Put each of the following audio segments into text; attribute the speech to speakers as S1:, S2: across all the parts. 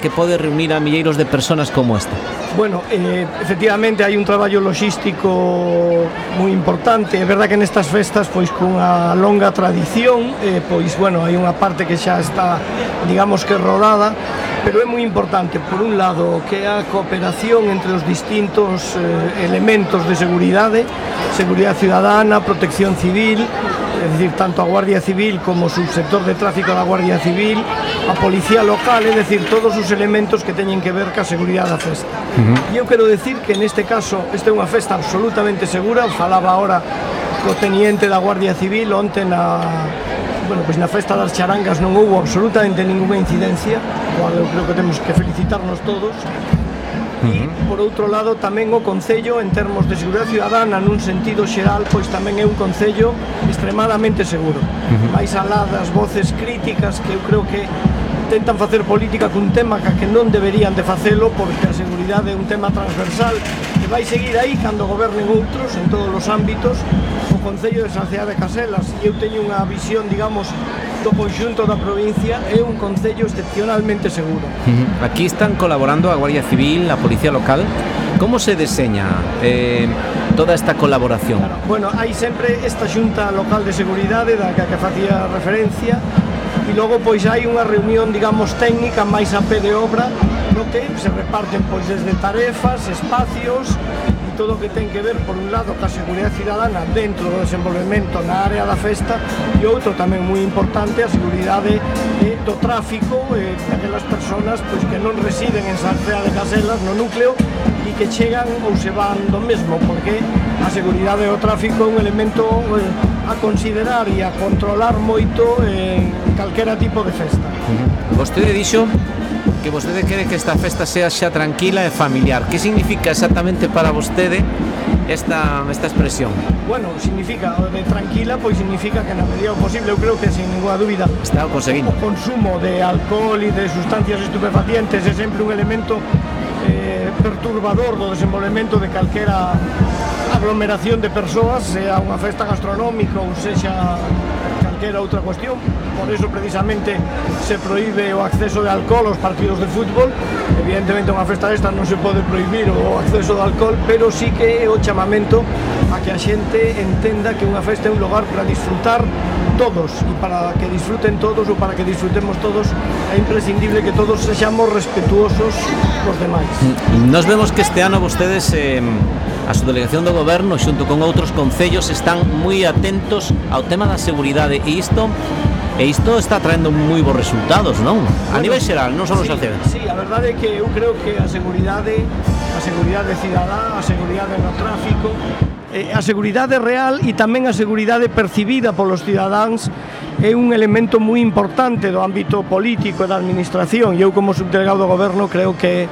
S1: que pode reunir a milleiros de personas como esta?
S2: Bueno, efectivamente hai un traballo logístico moi importante. É verdad que nestas festas, pois cunha longa tradición, pois bueno, hai unha parte que xa está, digamos que rodada, pero é moi importante, por un lado, que a cooperación entre os distintos elementos de seguridade cidadana, protección civil, é dicir, tanto a Guardia Civil como o subsector de tráfico da Guardia Civil, a Policía Local, é dicir, todos os elementos que teñen que ver ca seguridade da festa. E eu quero decir que neste caso esta é unha festa absolutamente segura. Falaba ahora co teniente da Guardia Civil onte na festa das charangas non houbo absolutamente ninguna incidencia, cual eu creo que temos que felicitarnos todos. E, por outro lado, tamén o Concello, en termos de seguridade ciudadana, nun sentido xeral, pois tamén é un Concello extremadamente seguro. Mais alá das voces críticas que eu creo que intentan facer política cun tema que non deberían de facelo, porque a seguridade é un tema transversal que vai seguir aí cando gobernen outros en todos os ámbitos. O Concello de San Ceá de Caselas, e eu teño unha visión, digamos, do conxunto da provincia, é un concello excepcionalmente seguro.
S1: Aquí están colaborando a Guardia Civil, a Policía Local. Como se deseña toda esta colaboración?
S2: Claro, bueno, hai sempre esta Xunta Local de Seguridade da que facía referencia, e logo pois hai unha reunión, digamos, técnica máis a pé de obra, no que se reparten pois desde tarefas, espacios, todo o que ten que ver, por un lado, ca seguridade cidadana dentro do desenvolvemento na área da festa, e outro tamén moi importante, a seguridade do tráfico, daquelas persoas pois, que non residen en San Ceá de Caselas, no núcleo, e que chegan ou se van do mesmo, porque a seguridade do tráfico é un elemento a considerar e a controlar moito en calquera tipo de festa.
S1: Vostede dixo que vostede quere que esta festa sea xa tranquila e familiar. Que significa exactamente para vostede esta expresión?
S2: Bueno, significa, de tranquila, pois significa que na medida posible, eu creo que sin ninguna dúbida
S1: está conseguindo.
S2: O consumo de alcohol e de sustancias estupefacientes é sempre un elemento perturbador do desenvolvemento de calquera aglomeración de persoas, sea unha festa gastronómica ou sexa calquera outra cuestión. Por eso precisamente se proíbe o acceso de alcohol aos partidos de fútbol. Evidentemente unha festa desta non se pode prohibir o acceso de alcohol, pero sí que é o chamamento a que a xente entenda que unha festa é un lugar para disfrutar todos, e para que disfruten todos ou para que disfrutemos todos é imprescindible que todos sexamos respetuosos cos demais.
S1: Nos vemos que este ano vostedes, a subdelegación do goberno xunto con outros concellos, están moi atentos ao tema da seguridade, e isto está traendo moi bons resultados, non? A nivel xeral, non só no San Ceá.
S2: Sí, a verdade é que eu creo que a seguridade cidadá, a seguridade no tráfico, a seguridade real e tamén a seguridade percibida polos cidadáns é un elemento moi importante do ámbito político e da administración, e eu como subdelegado do goberno creo que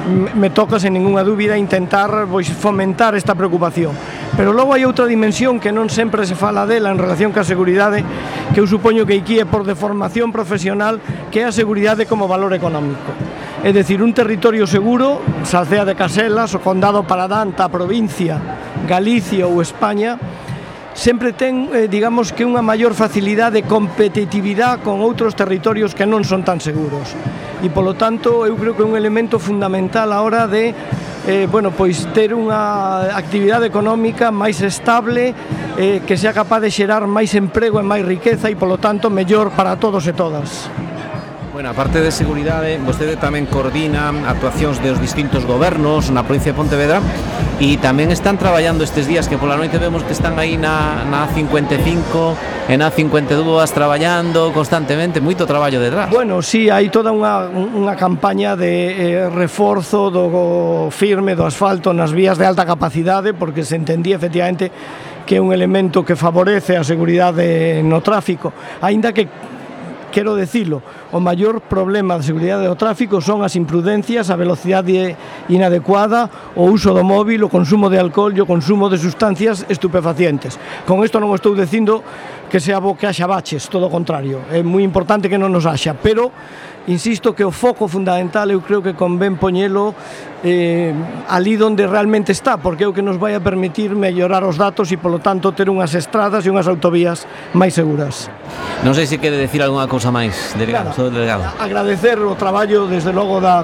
S2: me toca sen ninguna dúbida intentar fomentar esta preocupación. Pero logo hai outra dimensión que non sempre se fala dela en relación ca seguridade, que eu supoño que aquí é por deformación profesional, que é a seguridade como valor económico. É dicir, un territorio seguro, San Ceá de Caselas, o Condado Paradanta, a provincia, Galicia ou España, sempre ten, digamos, que unha maior facilidade de competitividade con outros territorios que non son tan seguros. E, polo tanto, eu creo que é un elemento fundamental a hora de ter unha actividade económica máis estable, que sea capaz de xerar máis emprego e máis riqueza e, polo tanto, mellor para todos e todas.
S1: Bueno, aparte de seguridade, vostede tamén coordina actuacións dos distintos gobernos na provincia de Pontevedra, e tamén están traballando estes días, que pola noite vemos que están aí na A55 e na A52 traballando constantemente, moito traballo detrás.
S2: Bueno, sí, hai toda unha campaña de reforzo do firme do asfalto nas vías de alta capacidade, porque se entendía efectivamente que é un elemento que favorece a seguridade no tráfico, aínda que quero decilo, o maior problema de seguridade do tráfico son as imprudencias, a velocidade inadecuada, o uso do móvil, o consumo de alcohol e o consumo de sustancias estupefacientes. Con isto non estou dicindo que sea bo que haxa baches, todo o contrario, é moi importante que non nos haxa, pero insisto que o foco fundamental eu creo que convén poñelo ali onde realmente está, porque é o que nos vai a permitir mellorar os datos e polo tanto ter unhas estradas e unhas autovías máis seguras.
S1: Non sei se quere decir algunha cousa máis, delegado.
S2: Agradecer o traballo desde logo da